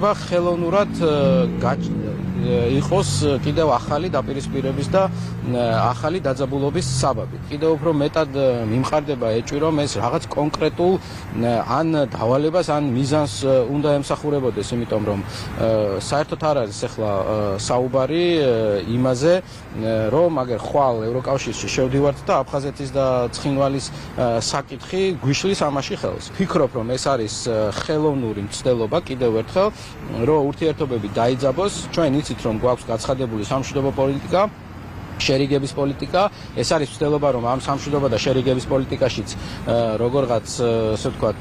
ხელოვნურად იყოს კიდევ ახალი დაპირისპირების და ახალი დაძაბულობის საბაბი. კიდევ უფრო მეტად მიმყარდება ეჭვი, რომ ეს რაღაც კონკრეტულ ან დავალებას, ან მიზანს უნდა ემსახურებოდეს, იმიტომ რომ საერთოდ არ არის ახლა საუბარი იმაზე, რომ აგერ ხვალ ევროკავშირში შევდივართ და აფხაზეთის და ცხინვალის საკითხი გვიშლის ამაში ხელს. Ფიქრობ, რომ ეს არის ხელოვნური მცდელობა კიდევ ერთხელ, რომ ურთიერთობები დაიძაბოს. ჩვენ იცით, რომ გვაქვს გაცხადებული სამშვიდობო პოლიტიკა, შერიგების პოლიტიკა. ეს არის მცდელობა, რომ ამ სამშვიდობო და შერიგების პოლიტიკაშიც როგორღაც, ასე ვთქვათ,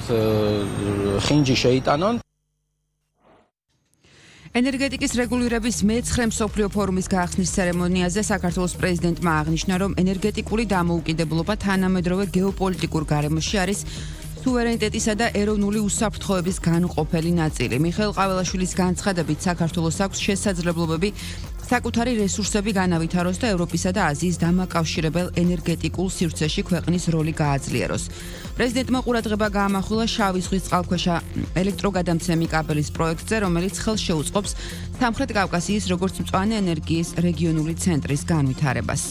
ხინჯი შეიტანონ. ენერგეტიკის რეგულირების მე-9 მსოფლიო ფორუმის გახსნის ცერემონიაზე საქართველოს პრეზიდენტმა აღნიშნა, რომ ენერგეტიკული დამოუკიდებლობა თანამედროვე გეოპოლიტიკურ გარემოში არის სუვერენიტეტისა და ეროვნული უსაფრთხოების განუყოფელი ნაწილი. მიხეილ ყაველაშვილის განცხადებით, საქართველოს აქვს შესაძლებლობები საკუთარი რესურსები განავითაროს და ევროპისა და აზიის დამაკავშირებელ ენერგეტიკულ სივრცეში ქვეყნის როლი გააძლიეროს. პრეზიდენტმა ყურადღება გაამახვილა შავი ზღვის წყალქვეშა ელექტროგადამცემი კაბელის პროექტზე, რომელიც ხელს შეუწყობს სამხრეთ კავკასიის როგორც მწვანე ენერგიის რეგიონული ცენტრის განვითარებას.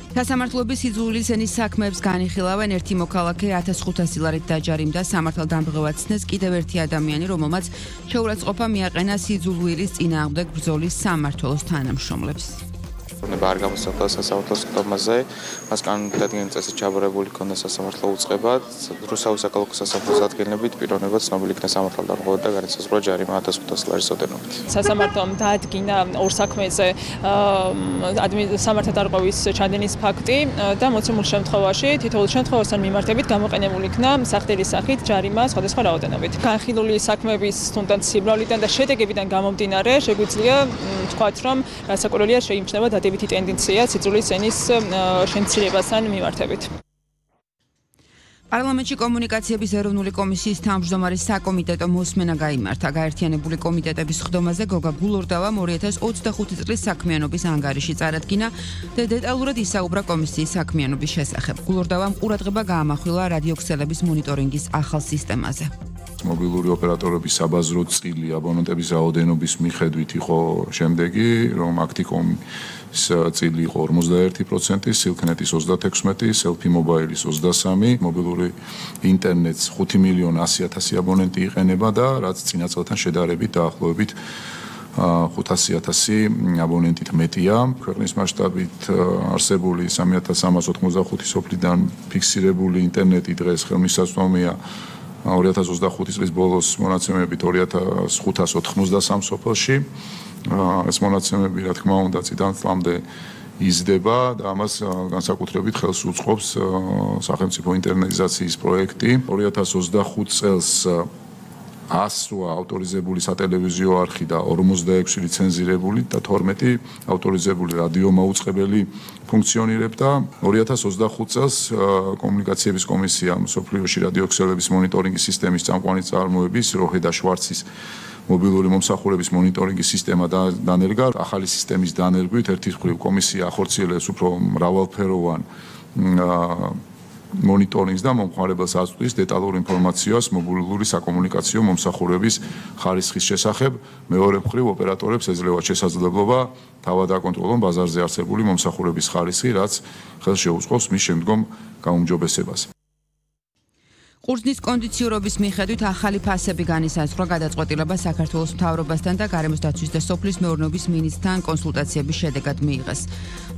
სასამართლოების იძულების ენის საქმეებს განიხილავენ ერთი მოქალაქე 1500 ლარით დაჯარიმდა სამართალდამღებად ცნეს კიდევ ერთი ადამიანი, რომელმაც შეურაცხყოფა მიაყენა სიძულვილის წინააღმდეგ ბრძოლის სამმართველოს თანამშრომლებს. არ გამოსახდა სასამართლოს ხდომაზე, მას კანონმდებლობის წესით ჩაბარებული ქონდა სასამართლო უწყება, რუსეთის საკალათო სასამართლოს ადგენილებით პიროვნებად ცნობილი იქნა სამართალდამღებად და განისაზღვრა ჯარიმა 1500 ლარის ოდენობით. სასამართლომ დაადგინა ორ საქმეზე სამართალდამღების ჩადენის ფაქტი და მოცემულ შემთხვევაში თითოეულ შემთხვევასთან მიმართებით გამოყენებული იქნა სახდელის სახით ჯარიმა სხვადასხვა რაოდენობით. განხილული საქმეების თუნდაც სიმრავლიდან და შედეგებიდან გამომდინარე, შეგვიძლია ვთქვათ, რომ რასაკვირველია შეიმჩნევა დადებითი ტენდენცია სიძულვის ენის შემცირებასთან მიმართებით. პარლამენტში კომუნიკაციების ეროვნული კომისიის თავმჯდომარის საკომიტეტო მოსმენა გაიმართა. გაერთიანებული კომიტეტების ხდომაზე გოგა გულორდავამ 2025 წლის საქმიანობის ანგარიში წარადგინა და დეტალურად ისაუბრა კომისიის საქმიანობის შესახებ. გულორდავამ ყურადღება გაამახვილა რადიოქსელების მონიტორინგის ახალ სისტემაზე. მობილური ოპერატორების საბაზრო წილი აბონენტების რაოდენობის მიხედვით იყო შემდეგი, რომ აქტიკომის წილი იყო 51%, სილკნეტის 36%, სელფი მობაილის 23%, მობილური ინტერნეტს 5.100.000 აბონენტი იყენება და რაც წინა წელთან შედარებით დაახლოებით 500.000 აბონენტით მეტია. ქვეყნის მასშტაბით არსებული 3385 სოფლიდან ფიქსირებული ინტერნეტი დღეს ხელმისაწვდომია 2025 წლის ბოლოს მონაცემებით 2593 სოფელში. ეს მონაცემები, რა თქმა უნდა, წიდან წლამდე იზრდება და ამას განსაკუთრებით ხელს უწყობს სახელმწიფო ინტერნეტიზაციის პროექტი. 2025 წელს 100 ავტორიზებული სატელევიზიო არხი და 46 ლიცენზირებული და 12 ავტორიზებული რადიომაუწყებელი ფუნქციონირებდა. 2025 წელს კომუნიკაციების კომისია მსოფლიოში რადიოქსელების მონიტორინგის სისტემის წამყვანი წარმოების როჰე და შვარცის მობილური მომსახურების მონიტორინგის სისტემა დანერგა. ახალი სისტემის დანერგვით ერთი მხრივ კომისია ახორციელებს უფრო მრავალფეროვან მონიტორინგს და მომხმარებელს აწვდის დეტალურ ინფორმაციას მობილური საკომუნიკაციო მომსახურების ხარისხის შესახებ. მეორე მხრივ ოპერატორებს ეძლევათ შესაძლებლობა თავად აკონტროლონ ბაზარზე არსებული მომსახურების ხარისხი, რაც ხელს შეუწყობს მის შემდგომ გაუმჯობესებას. ყურძნის კონდიციურობის მიხედვით ახალი ფასები განისაზღვრა გადაწყვეტილება საქართველოს მთავრობასთან და გარემოს დაცვის და სოფლის მეურნეობის მინისტრთან კონსულტაციების შედეგად მიიღეს.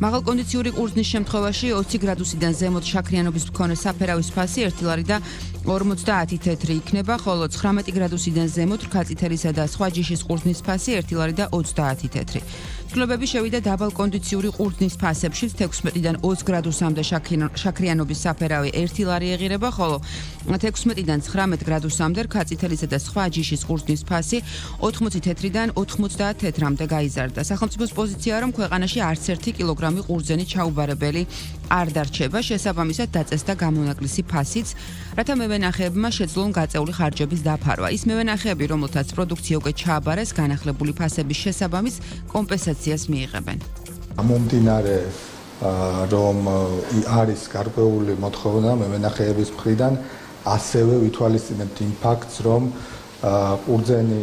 მაღალკონდიციური ყურძნის შემთხვევაში 20 გრადუსიდან ზემოთ შაქრიანობის მქონე საფერავის ფასი 1 ლარი და 50 თეთრი იქნება, ხოლო 19 გრადუსიდან ზემოთ რქაწითელისა და სხვა ჯიშის ყურძნის ფასი 1 ლარი და 30 თეთრი. ცვლილებები შევიდა დაბალკონდიციური ყურძნის ფასებშიც 16-დან 20 გრადუსამდე შაქრიანობის საფერავი 1 ლარი ეღირება, ხოლო 16-დან 19 გრადუსამდე რქაწითელისა და სხვა ჯიშის ყურძნის ფასი 80 თეთრიდან 90 თეთრამდე გაიზარდა. სახელმწიფოს პოზიციაა, რომ ქვეყანაში არც ერთი კილოგრამი ყურძენი ჩაუბარებელი არ დარჩება, შესაბამისად დაწესდა გამონაკლისი ფასიც, რათა მევენახეებმა შეძლონ გაწეული ხარჯების დაფარვა. ის მევენახეები, რომელთაც პროდუქცია უკვე ჩააბარეს, განახლებული ფასების შესაბამის კომპენსაციას მიიღებენ. მომდინარე რომ არის გარკვეული მოთხოვნა მევენახეების მხრიდან, ასევე ვითვალისწინებთ იმ ფაქტს, რომ ყურძენი